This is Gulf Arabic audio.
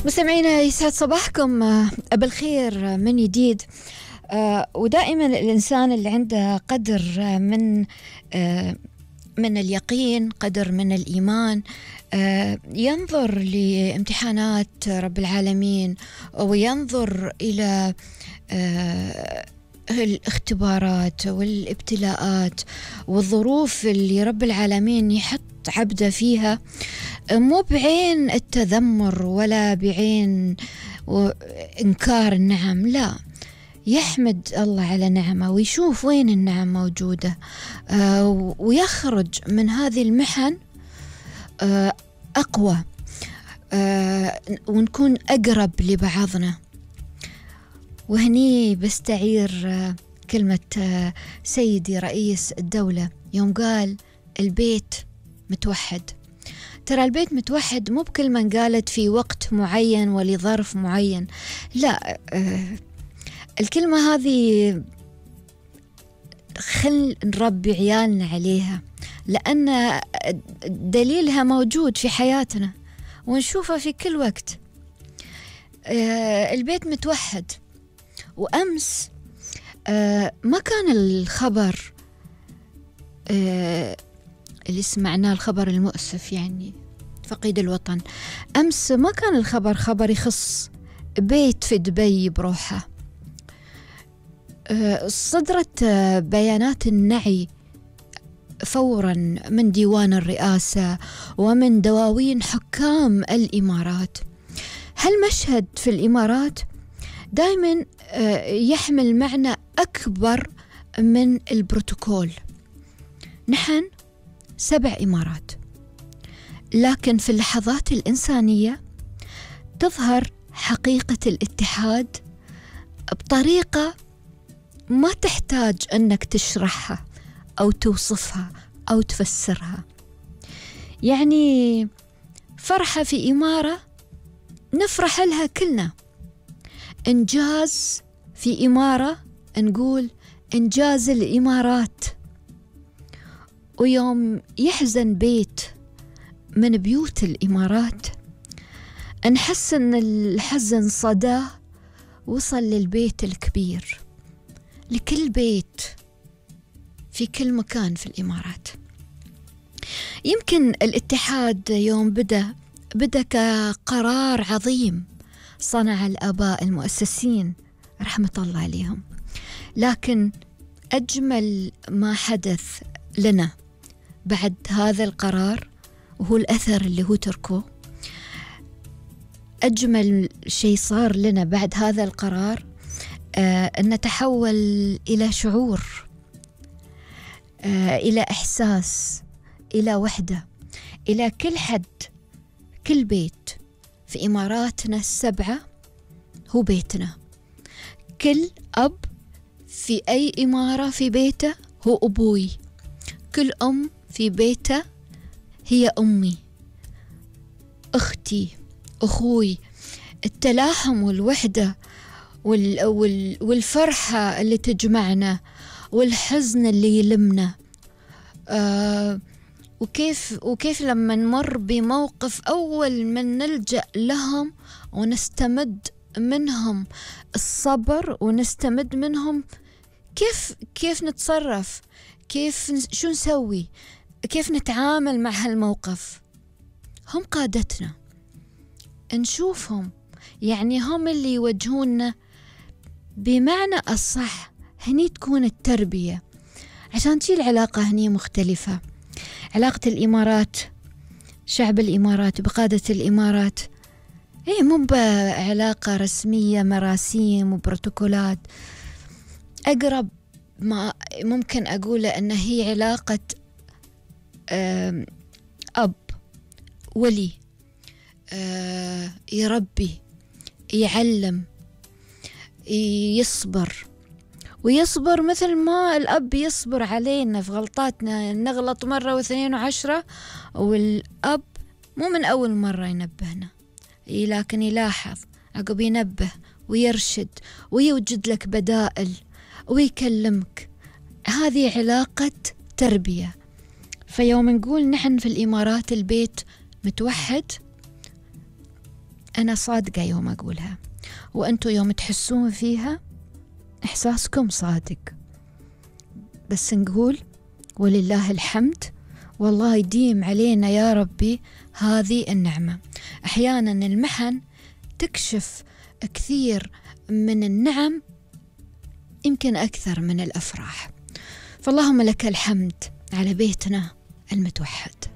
مستمعينا يسعد صباحكم بالخير من جديد. ودائما الإنسان اللي عنده قدر من اليقين، قدر من الإيمان، ينظر لامتحانات رب العالمين وينظر إلى الاختبارات والابتلاءات والظروف اللي رب العالمين يحط عبده فيها، مو بعين التذمر ولا بعين إنكار النعم، لا، يحمد الله على نعمة ويشوف وين النعم موجودة، ويخرج من هذه المحن أقوى، ونكون أقرب لبعضنا. وهني بستعير كلمة سيدي رئيس الدولة يوم قال البيت متوحد. ترى البيت متوحد مو بكلمة قالت في وقت معين ولظرف معين، لا، الكلمة هذه خل نربي عيالنا عليها، لأن دليلها موجود في حياتنا ونشوفها في كل وقت. البيت متوحد. وأمس ما كان الخبر اللي سمعناه، الخبر المؤسف، يعني فقيد الوطن، أمس ما كان الخبر خبر يخص بيت في دبي بروحه. صدرت بيانات النعي فورا من ديوان الرئاسة ومن دواوين حكام الإمارات. هالمشهد في الإمارات دائما يحمل معنى أكبر من البروتوكول. نحن 7 إمارات، لكن في اللحظات الإنسانية تظهر حقيقة الاتحاد بطريقة ما تحتاج أنك تشرحها أو توصفها أو تفسرها. يعني فرحة في إمارة نفرح لها كلنا، إنجاز في إمارة نقول إنجاز الإمارات. ويوم يحزن بيت من بيوت الإمارات نحس أن الحزن صداه وصل للبيت الكبير، لكل بيت في كل مكان في الإمارات. يمكن الاتحاد يوم بدأ كقرار عظيم صنع الآباء المؤسسين رحمة الله عليهم، لكن أجمل ما حدث لنا بعد هذا القرار وهو الأثر اللي هو تركه. أجمل شيء صار لنا بعد هذا القرار أن نتحول إلى شعور، إلى إحساس، إلى وحدة، إلى كل حد، كل بيت في إماراتنا 7 هو بيتنا. كل أب في أي إمارة في بيته هو أبوي، كل أم في بيته هي أمي، أختي، أخوي. التلاحم والوحدة والفرحة اللي تجمعنا والحزن اللي يلمنا، وكيف لما نمر بموقف أول من نلجأ لهم ونستمد منهم الصبر ونستمد منهم كيف نتصرف، شو نسوي، كيف نتعامل مع هالموقف. هم قادتنا، نشوفهم، يعني هم اللي يوجهونا بمعنى الصح. هني تكون التربية، عشان تشيل العلاقة هني مختلفة. علاقة الإمارات، شعب الإمارات بقادة الإمارات، هي مو بعلاقة رسمية مراسيم وبروتوكولات. أقرب ما ممكن أقوله أن هي علاقة أب ولي، يربي، يعلم، يصبر، ويصبر مثل ما الأب يصبر علينا في غلطاتنا. نغلط مرة واثنين وعشرة، والأب مو من أول مرة ينبهنا، لكن يلاحظ عقب، ينبه ويرشد ويوجد لك بدائل ويكلمك. هذه علاقة تربية. فيوم نقول نحن في الإمارات البيت متوحد، أنا صادقة يوم أقولها، وأنتوا يوم تحسون فيها إحساسكم صادق. بس نقول ولله الحمد، والله يديم علينا يا ربي هذه النعمة. أحيانا المحن تكشف كثير من النعم، يمكن أكثر من الأفراح. فاللهم لك الحمد على بيتنا المتوحد.